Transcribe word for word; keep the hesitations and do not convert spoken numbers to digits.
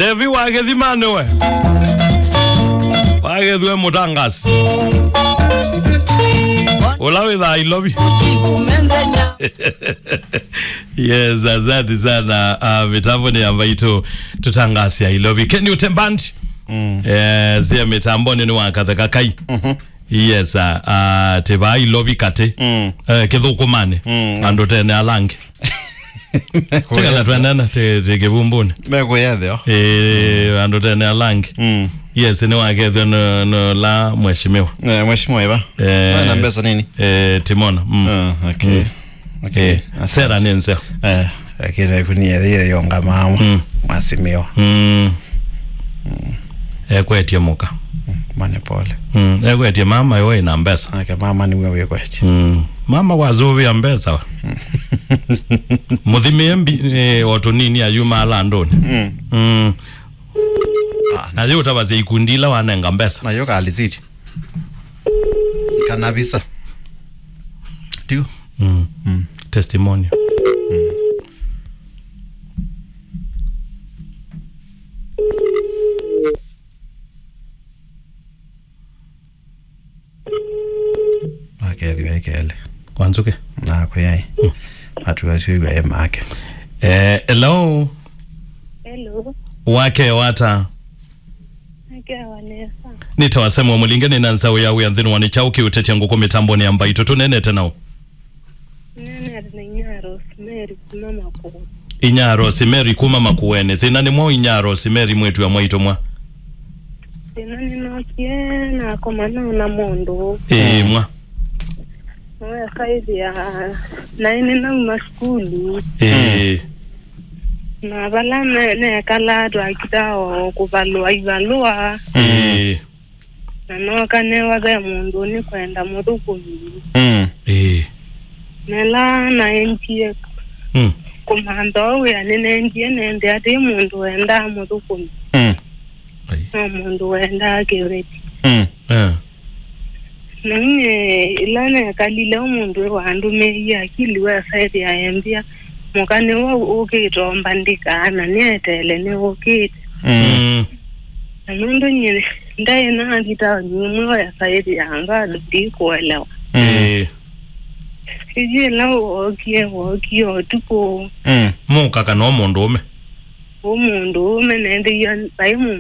Evi wa Gĩthima nĩwe. Wa Gĩthwe mũtangasi. Ũla wĩthaa Ilovi. Yes, asante sana. Uh, mitambo nĩ ya Mbaitũ, tũtangasia Ilovi. Kenny Utembandi. Mm. Eh, sia mitamboni nĩ wa Katheka Kai. Mhm. Yes, uh, uh, tĩ vaa Ilovi katĩ. Mm. Eh, kĩthũkũmanĩ. Mm. Andũ tene alange. Tikana twenene, tĩ, tĩ kĩvumbũnĩ. Mekũyetheo. Eh, andũ tene alange. Mm. Yes, nĩ wakethwe no, no la mheshimiwa. Eh, mheshimiwa eva. Eh, na mbesa nini? Eh, Timona. Mm. Ah, okay. Mm. Okay. Eh, asante. Sera nĩ nzeo. Eh, lakini kuni ya hiyo yonga mama. Mm. Mheshimiwa. Mm. Mm. Ekwetie mũka. Mm, mane pole. Mm, ekwetie mama yo ina mbesa. Ake mama nĩwe wĩkwetie. Mm. Mama wazuvia mbesa. Mũthimie mbi, eh, o tũnini ayuma ala andũnĩ. Mm. Mm. Ah, na yu ũtavasya ikundi ila wanenga mbesa. Na yo kalisiti. Kana visa. Ndio. Mm. Mm. Testimonial. Mm. Akethĩwa ĩkele. Wanzuke. Nakwe yai. Mm. Atuasyo iwe make. Eh, hello. Hello. Wake wata. Nĩkĩawa nesa. Nĩtawa Samuel Mũlinge, nĩ na nzaũ ya wĩa nthĩnĩ wa nĩ kyaũ kĩũtetya ngũkũ mĩtambonĩ ya Mbaitũ. Tũnenete naũ? Nene na inya Rosemary kuma Makueni. Inya Rosemary kuma Makueni. Thĩna nĩ mwaũ inya Rosemary mwĩtu wa mwaitũ mwa? Thĩna nĩnokie nakoma nona mũndũ. Ĩĩ, mwa. Nĩwekaĩthĩa naĩ nĩnauma sukulu. Ĩĩ. Na vala ne- nekalaa twakita o kũvalũa ivalũa. Ĩĩ. Na nooka newa ve mũndũ nĩkwenda mũthũkũmi. Mm. Ĩĩ. Nela naendie Mm. kũmantha ũũ wĩa nĩnendie nende atĩ mũndũ wendaa mũthũkũmi. Mm. Ai. No mũndũ wendaa kĩveti. Mm. Eh. Na nyie ĩla nekalile, mũndũ wandũmĩie akili wesa ĩthĩa embĩa, mũka nĩwe ũkĩte ũmbandĩkaa, na nĩeteele nĩũkĩte. Mm. Mm. Na nũndũ nyie ndaĩ nathi taoni ĩmwe wesa ĩthĩa bado ndikũelewa. Mm. Ĩĩ. Ĩyu ĩla wookie, wookie ũtukũ. Mm. Mũka kana o mũndũũme? Ũ mũndũũme, nendĩie vai mũndũ